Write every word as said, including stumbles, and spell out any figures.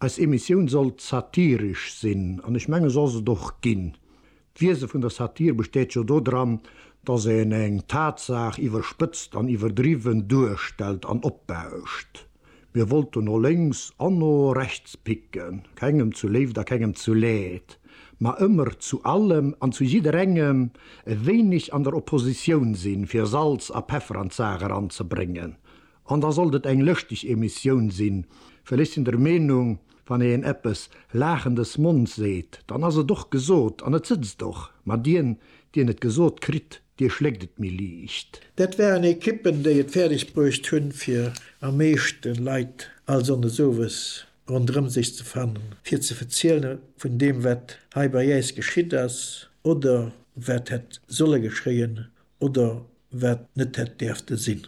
Eis Emissioun sollt satiresch sinn, an ech menge se ass et och ginn. D'Wiese vun der Satir besteet jo dodran, datt een eng Tatsaach iwwerspëtzt an iwwerdriwwen duerstellt an opbauscht. Mir wollten no lénks an no rechts picken, kengem zu Léift a kengem zu Leed, ma ëmmer zu allem an zu jidderengem e wéineg an der Oppositioun sinn, fir Salz a Peffer an d'Saach eranzebréngen. An da sollt et eng lëschteg Emissioun sinn, well ech sinn der Meenung, wann een eppes laachendes Monds seet, dann ass et och gesot an et sëtzt och, ma dien, dien et gesot kritt, dee schléckt et méi liicht. Dat waren Ekippen, déi et fäerdeg bruecht hunn, fir am meeschte Leit all Sonndes owes ronderëm sech ze fannen, fir ze verziele vun deem, wat hei bei äis geschitt ass oder wat hätt solle geschéien oder wat net hätt däerfte sinn.